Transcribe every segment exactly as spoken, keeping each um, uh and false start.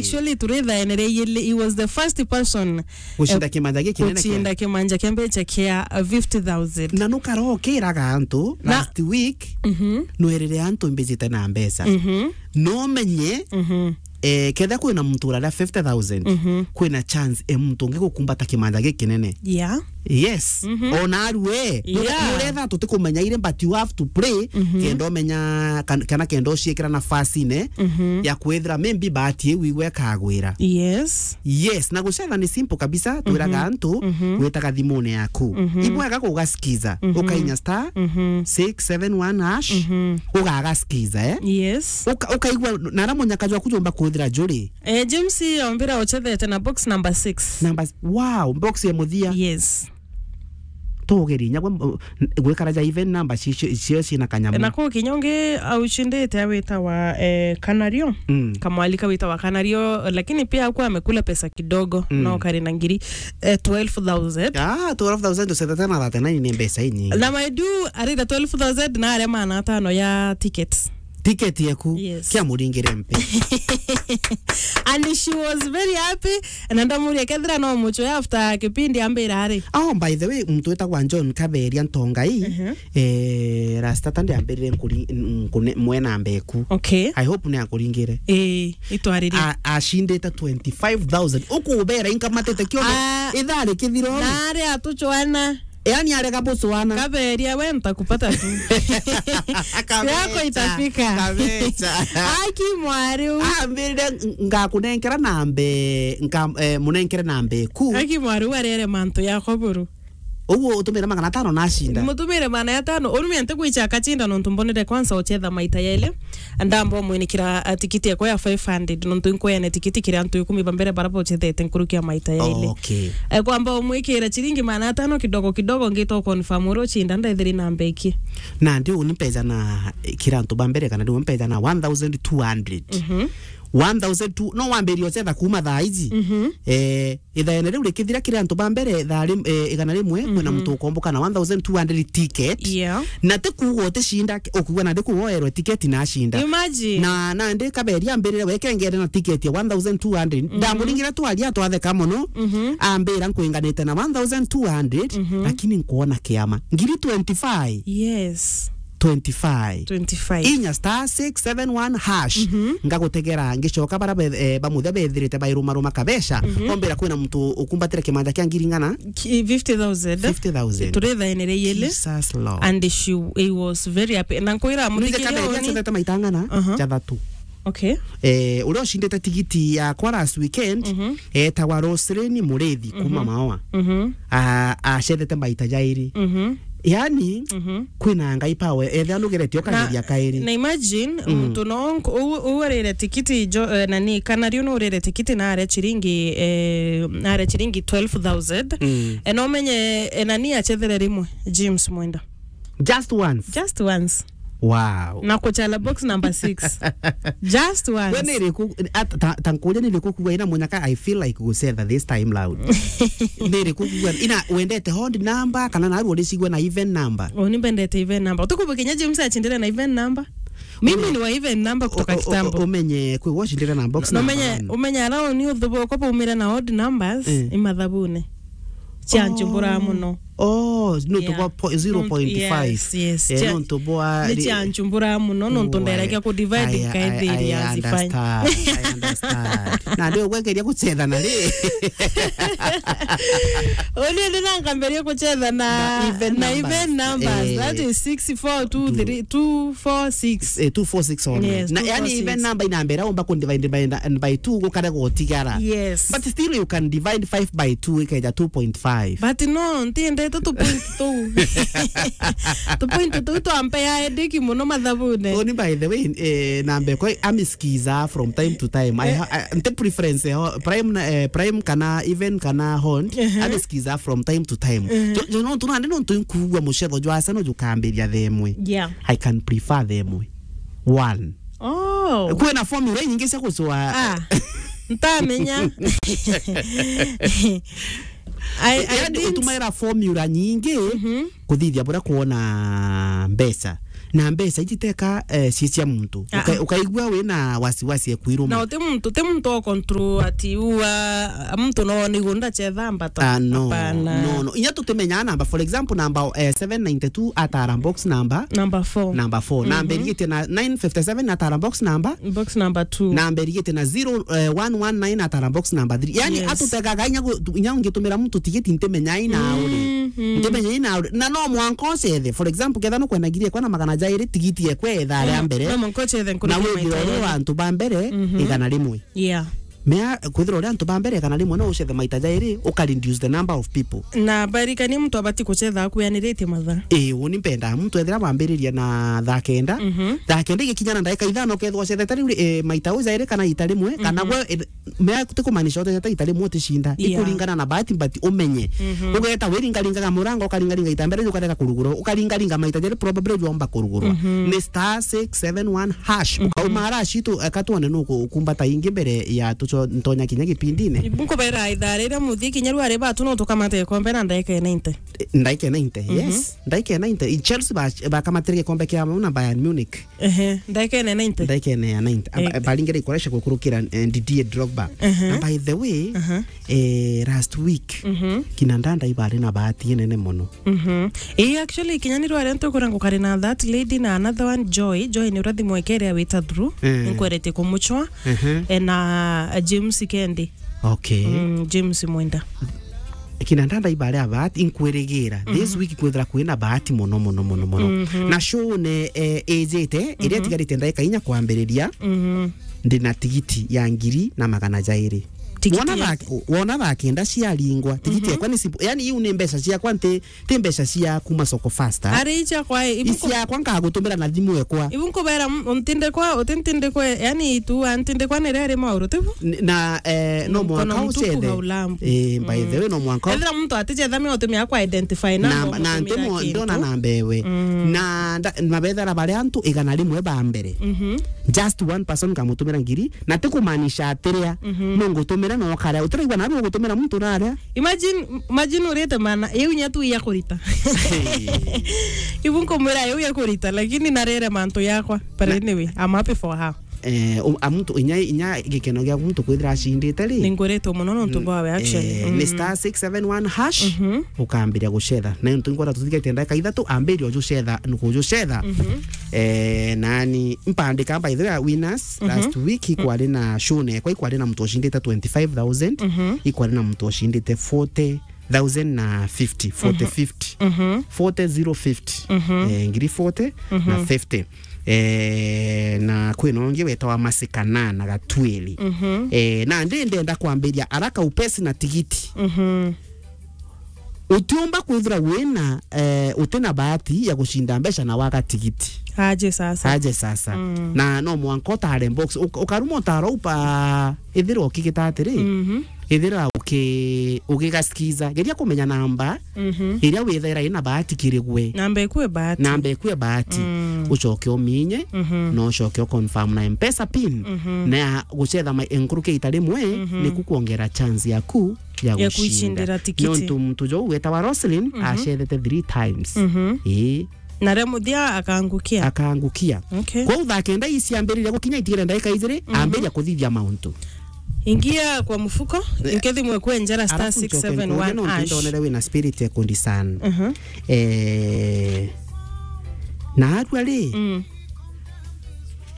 Actually, turithaenereirie, he was the first person, gucinda eh, kimanja gikinene kia gucinda kimanja kia mbeca kia, uh, fifty thousand. Na nukarokiraga antu Na last week, mhm, nwerire antu mbijite na mbeca. Mhm. No menye, mhm, eh, ketha kwina muntu uraria fifty thousand, mhm, kwina chance e muntu ungi gukumbata kimanja gikinene. Yeah. Yes. Mhm. Ona arue. Yeah. Nuretha tutikumenya ire, but you have to pray, mhm, kenda umenya kan-, kana kenda uciikira nafasine, mhm, ya kwithira maybe bahati iu igwe ikagwira. Yes. Yes, na gucetha ni simple kabisa, twiraga, mhm, antu, mhm, gwitaga thimune yaku. Mhm. Ibwega kugasikiza, mhm, ukainya star, mhm, six seven one hash, mhm, ugagasikiza, eh? Yes. Uka-, ukaigua, na ara munyaka jwaku jomba kwithira juri. Eh, James, ombira uchethete na box number six. Number s-, wow, box ya muthia. Yes. Tugeri, nyagwe, uh, gwikara ja even number ci-, ci-, cio cina kanyamu. Na ku kinya ungi aucindite awitawa, eh, Kanario. Mm. Kamwalika witawa Kanario, lakini pia hakuwa amekula pesa kidogo, mm, no kari na ngiri, eh, twelve thousand. Ah, twelve thousand ucethete na thirty-nine ni mbeca inyingi. Na my du, arira twelve thousand na aria maana atano ya tickets. Ticket yeku, yes, kia muringire mpe. And she was very happy, na ndamuria kethira no muchwe after kipindi ambira ari. Oh, by the way, muntu witagwa John Kaberia Ntongai, mhm, eh, last Saturday ambirire nkuri-, nkune-, mwena mbeku. Okay. I hope ni akuringire. Eh, itwaririe. A-, acindite twenty-five thousand. Ukubera inkamatete kiondo. Ah, ithaa rikithira. Na ari atuchwana. Yani arega bucwana. Kaberia, we ntakupata tu. Kabecha, yako itafika. Kabecha. Aki mwari u. Ambirire ng-, ngakunenkera nambe, nka-, eh, munenkere nambe ku. Aki mwari u arere mantu yako buru. Uguo utumire magana atano nacinda. Mutumire magana atano, urumia ntikwicha akacinda nontu mbonere kwanza uchetha maita yaili. Ndamba umwinikira, a, tikiti yakwa ya five hundred, nontu inkweane tikiti kiri antu ikumi ba mbere bara bocethete nkuruki ya maita yaili. Okay. E, kwamba umwikira chiringi magana atano kidogo kidogo, ngita u confirm uria ucinda ndethiri na mbeki. Na ndi uni mbeca na, e, kira antu ba mbere kana ndi uni mbeca na one thousand two hundred. Mhm. One thousand two, no wambirie ucetha kuma thaa iji. Mhm. Eh, ithaene riu rikithira kiri antu ba mbere thaa rim-, eh, igana rimwe, kwina, mhm, muntu ukomboka na one thousand two hundred ticket. Yeah. Na ti kuuga uticinda, ukuuga nandi kuuga oerwe ticket na acinda. Imagine. Na, nandi Kaberia ambirire we kengere na ticket ya one thousand two hundred. Mhm. Ndamuringire twaria twatheka mono. Mhm. Ambira nkwinganite na one thousand two hundred, mhm, lakini nkwona kiama. Ngiri twenty-five. Yes. Twenty-five. Twenty-five. Inya star six seven one hash. Mhm. Ngagutegera, ngicoka bara be-, eh, ba muthia bethirite bairumaruma kabeca. Mhm. Ombira kwina muntu ukumbatire kimanja kia ngiri ng'ana? Ki-, fifty thousand. Fifty thousand. Turithaenere yele. Jesus Lord. And she, he was very happy. Na nkwira Nwize muthikiri Kaberia oni acethete maita ng'ana? Aha. Jathatu. Okay. Eh, uria ucindite tigiti yakwa last weekend, mhm, etagwa Roselyn Murithi kuma, mhm, Maoa. Mhm. A-, acethete maita jairi. Mhm. Yani, mhm, kwina Ngai power, ethia nugeretie ukageria kairi. Na imagine, mm, muntu no nk-, u-, u-, urire tikiti jo, eh, nani, kana riu no urire tikiti na aria chiringi, eh, na aria chiringi twelve thousand. Mm. E, no menye, e, nani achethere rimwe, James Mwenda. Just once? Just once. Wow. Na kuchala box number six. Just once. We ni iriku, at-, ta, ta nkuria ni iriku kuuga ina munyaka, I feel like gucetha this time round. Ni iriku kuuga, ina wendete odd number, kana naru uricigua na even number? Uni mbendete even number. Tukubu kinya James achindire na even number. Mimi ni wa even number kutoka kitambo. O-, o-, o-, umenye kwi washindire na box number one. Umenye, umenye ara uni uthubu kwa baumire na odd numbers, eh, imathabune. Cia nchumbura muno. Oh, nontu bwa po-, zero point five. Yeah. Nontu, yes, yes. Eh, nontu bwa ni ri-, cia nchumbura muno, nontu nderagia ku divide, I, I, nkaithiria I understand. I understand. Na ndio gwekeria kucetha na ri. Uni ndi na nkamberia kucetha na, na even numbers. Na even numbers. Eh. That is six four two three, two four six. Eh, two four six only. Yes, na, yani, two four six. Even number inambera umba ku divide by, by two gukare gutigara. Yes. But still you can divide five by two ikeja two point five. But no, ntiendete tu point tu. Tu point tu twampea headache muno mathabune. Oni, by the way, eh, namba ekwa amisikiza from time to time. I, eh, ha-, I, nte preference ya ho-, prime na, eh, prime kana even kana hon, ehe, amisikiza from time to time. Ehe. Jo, jo, no, tunande no tunkugua mucetho jwa Arsenal jukambiria themwe. Yeah. I can prefer themwe. One. Oh. Kwina formula nyingi cia gucua. Ah, ntamenya. I, I, yani, didn't utumaira formula nyingi, mhm, kuthithia buria kuona mbeca. Na mbeca iji teka, eh, cia, cia muntu. Ah, Uka-, ah. Ukaigua wina wasiwasi ekwiruma. Na uti muntu, ti muntu o control ati ua, muntu no ni gunda chetha mbata. Ah, no. Hapana. No, no. Inya tutimenyaa namba, for example, namba, eh, seven ninety-two atara box number. Number four. Number four. Mhm. Namba irigitie na nine fifty-seven atara box number. Box number two. Namba irigitie na zero, eh, one one nine atara box number three. Yani, yes, atutegaga inya gu-, tu-, inya ungitumira muntu tigiti ntimenyaa ina uri. Mhm. Ntimenyaa ina uri. Na no mwanka ucethe. For example, ketha nukwenda ngiri ekwa na magana jairi tigiti ekwa etha aria mbere. No mwanka ucethe nkuruki ya maita iri. Na withira uri wa antu ba mbere, mhm, igana rimwe. Yeah. Mea, kwithira uri antu ba mbere igana rimwe, no ucethe maita jairi, uka reduce the number of people. Na barikania muntu abati kucetha akuyaniritie mathaa. Ii, uni mpendaa muntu ethira wambiriria na thaa kenda, mhm, thaa kenda igikinya na ndagika ithano, ukethwa ucethete riu ri, eh, maita u jairi kana ita rimwe, kana, mhm, gwe, eh, mea ti kumaanisha ucethete ita rimwe uticinda. Yeah. Ikuringana na bahati, but umenye. Mhm. Ugeta wiringaringaga murango, ukaringaringa ita mbere, ukarega kurugurwa, ukaringaringa maita jairi, probably jwomba kurugurwa. Mhm. Ni star six seven one hash. Mhm. Ukauma ara citu, eka twone nuku-, ukumbata ingi mbere ya tuco-, ntonya kinya gipindine. Ibu nkubera ithaa riria muthii kinya riu ari batu no tukamate gikombe na ndagika ya ninety. Eh, ndagika ya ninety, mhm, yes. Ndagika ya ninety. Chelsea ba-, bakamatire gikombe kia mau na Bayern Munich. Ehe, ndagika ya ninety. Ndagika ya ninety. Aba-, eh, baringire ikoresha gukurukira, eh, Didier Drogba. Ehe. Na by the way, aha, eh, last week, mhm, kina Ndanda ibari na bahati inene mono. Mhm. Ii, actually, kinya ni rware ntukura ngukari na that lady na another one, Joy. Joy ni urathimwa ikere ya wita through. Eh. Nkwerete kumuchwa. Ehe. Eh, na, eh, James Kendi. Okay. Mm, James Mwenda. Kina Ndanda ibari a bahati, inkwirigira. This, mhm, week kwithira kwina bahati mono, mono, mono, mono. Mhm. Na show ne, eh, ijite, iria, mhm, itigarite ndagika inya kwambiriria. Mhm. Ndina tigiti ya ngiri na magana jairi. Tigiti. Wona ya- thaa, wona thaa kenda ciaringwa, tigiti, mhm, yakwa ni simple. Yani, iu ni mbeca ciakwa, nti, ti mbeca cia kuma soko faster. Ari icia kwa, ibu nku- Iciakwa nkagutumira na thimu ekwa. Ibu nkubera m-, ntindikwa, uti ntindikwa, yani, itu, a, ntindikwa ni riri mauru, tibu? N-, na, eh, no mwanka ucethe. Mkono mtupu haulambwi. Eh, by the way, no mwanka. Ethira muntu aticetha, me utumia kwa identify na, na, na ntimo, ndona namba ewe. Mm. Na nda-, na bethera baria antu igana rimwe ba mbere. Mhm. Just one person nkamutumira ngiri, na ti kumaanisha atiria, mhm, no ngutumira no karia. Utiraigua nabi ugutumira muntu naria. Imagine, imagine urite mana, iu nya tu ya kurita. Hey. Ibu nkumwira iu ya kurita, lakini narere mantu yakwa. But na- anyway, I'm happy for her. Eh, u-, a muntu inya, inya gikeno gia muntu kwithira acindite ri? Ninguritwe mono nontu bwawe, actually. Eh, ni star six seven one hash, mhm, ukambiria gucetha. Na ntu ngwenda tuthigetie ndagika ithatu, ambiria ujucetha, nukujucetha. Mhm. Eh, nani, mpandika, by the way, winners, mhm, last week, ikwari na show nekwa, ikwari na muntu ucindite twenty-five thousand, mhm, ikwari na muntu ucindite forty thousand na fifty, forty, mhm, fifty. Mhm. Forty zero fifty. Mhm. Eh, ngiri forty na fifty. Eh, na kwina ungi wetawa Masika na, na Gatwiri. Mhm. Eh, na ndi ndenda kwambiria araka upesi na tigiti. Mhm. Utiumba kwithira wina, eh, utina bahati ya gucinda mbeca na waga tigiti. Aje sasa. Aje sasa. Mm. Na no mwanka utare box. Uk-, ukaruma utara upa ithira ukigita atiri. Mhm. Ithira uki-, ugigasikiza. Geria kumenya namba, mhm, iria withaira ina bahati kiri gwe. Namba ikue bahati. Namba ikue bahati. Mm. Ucoke uminye, mhm, na ucoke uconfirm na M-Pesa pin. Mhm. Na ya gucetha ma-, nkuruki ita rimwe, mhm, niku kuongera chance yaku ya, ya gucindira tigiti. Nontu muntu jo wetawa Roslyn, mhm, acethete three times. Mhm. Ii. Na ria muthia akangukia. Akangukia. Okay. Kwou thaa kenda iciambiriria gukinya itigire ndagika ijiri, mhm, ambiria kuthithia mauntu. Ingia kwa mfuko, eh, nkethimwe kwenjera star six seven one hash. Arafu ncoke nkuurie nontu ndonere wina spirit ya kundiscern. Mhm. Eh, na arua ri, mm,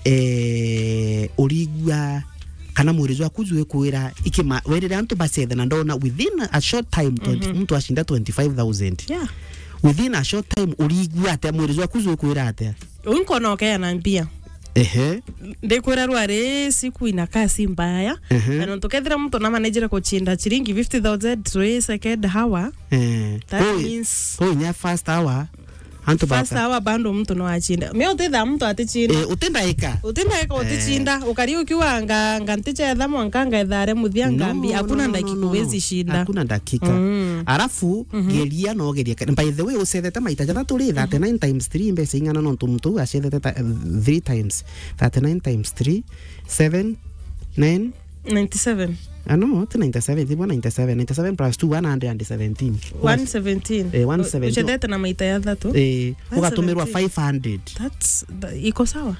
eh, urigua kana mwiri jwaku jwikwira ikima-, werire antu bacethe na ndona within a short time, twenty, mhm, muntu acinda twenty-five thousand. Yeah. Within a short time, urigua atia? Mwiri jwaku jwikwira atia? Uyu nkona ukeana mbia. Ehe. Ndikwira rwari siku inakaa si mbaya. Ehe. Na nontu kethira muntu namanejire kuchinda chiringi fifty thousand to second hour, eh, that means koi nya first hour, antu first hour bando muntu no achinda. Me utitha muntu atichinda. Eh, utindaika. Utindaika, eh, utichinda. Ukari ukiuga nga, nga ntichetha mwanka ngetha aria muthia ngambi. No, hakuna no, no, dakika no, no, huwezi shinda. Hakuna dakika. Mm. Arafu, mhm, geria no geria. By the way, ucethete maita jathatu ri, mhm, thirty-nine times three mbeca ing'ana nontu muntu uu acethete ta, three times. Thirty-nine times three, seven, nine, ninety-seven. Ah, no, ti ninety-seven, ti ninety-seven. Ninety-seven plus two, one hundred and seventeen. Plus one seventeen. Eh, one seventeen. Uchethete na maita ya thatu. Eh, ugatumirwa five hundred. That's the, iko sawa.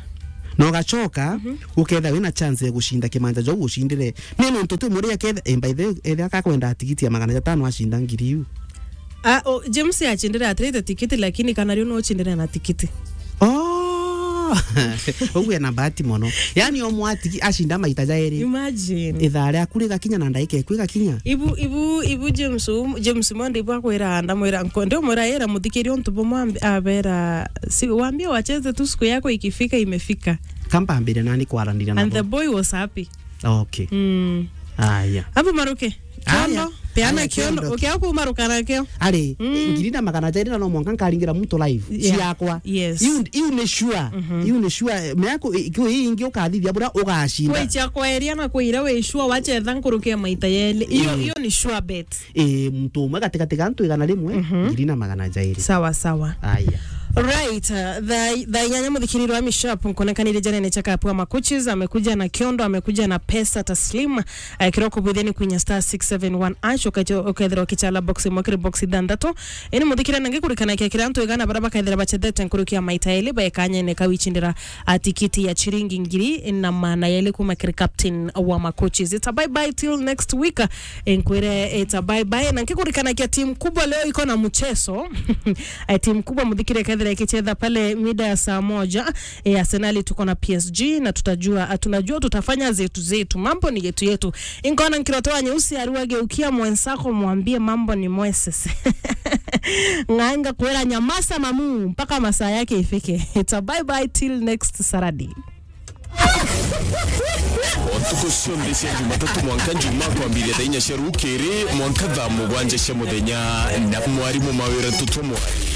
Na ugacoka, uketha wina chance ya gucinda kimanja jau ucindire. Ni nontu ti muria ketha, eh, by the way, etha akakwenda tigiti ya magana jatano acinda ngiri iu. Ah, o, James acindire atirite tikiti, lakini kana riu no ucindire na tikiti. Oh! Uguo ena bahati mono. Yani, o mwatigi acinda maita jairi. Imagine. Ithaa riaku rigakinya na ndaika iku igakinya. Ibu, ibu, ibu James, um, James Mondi ibu akwira, ndamwira, nko-, ndimwira, ira muthikiri untu bumwe ambi-, abera, si, waambie wacheze tu, siku yako ikifika, imefika. Kampambire nani kwaranira nabo. And the boy was happy. Okay. Mm. Aya. Abu maruke. Aya. Kiondo, peana. Aya, kiondo. Kiondo. Ukia kumaruka nakio. Ari, mm, ngiri na magana jairi na no mwanka nkaringira muntu live. Yeah. Ciakwa. Yes. Iu, iu ni sure. Mhm. Iu ni sure. Miaku, i-, ikiu ii ingi ukathithia bura ugacinda. Kwi ciakwa eria na kwi iria wi sure wachetha nkuruki ya maita yeli. Iyo, mm, iyo ni sure bet. Eh, muntu umwe gatigati ga antu igana rimwe, mhm, ngiri na magana jairi. Sawa, sawa. Aya. Right, uh, thaa, thaa inyanya muthikiriri wa Mishap, nkuonekana iri janene cha kapu wa Makuchis, amekuja na kiondo, amekuja na pesa taslim. Eh, kiroko bwitheni kwinya star six seven one hash, ukacho-, ukethirwa ukichala box imwe kiri box ithanthatu. Ini muthikire na ngikurikana kia kira antu igana bara bakethira bachethete nkuruki ya maita eli, baekanyene kawicindira a tikiti ya chiringi ngiri na magana yeli kuma kiri captain wa Makuchis. It's a bye bye till next week. Eh, nkwire, it's a bye bye. Na nkikurikanakia timu kubwa leo iko na mchezo. Eh, timu kubwa muthikire kethira ikichetha pale mida ya saa moja. Eh, Arsenal tuko na P S G na tutajua, ah, tunajua tutafanya zetu zetu. Mambo ni yetu yetu. Inkona nkiroto wa nyeusi ariwa geukia mwenzako mwambie mambo ni Moises. Ng'anga kwera nyamasa mamu mpaka masaa yake ifike. It's a bye bye till next Saturday. O ntuku cionthe cia Jumatatu mwanka Njuma kwambiria thaa inya cia rukiri mwanka thaa mugwanja cia muthenya na mwarimu Mawira Ntutu Mwari.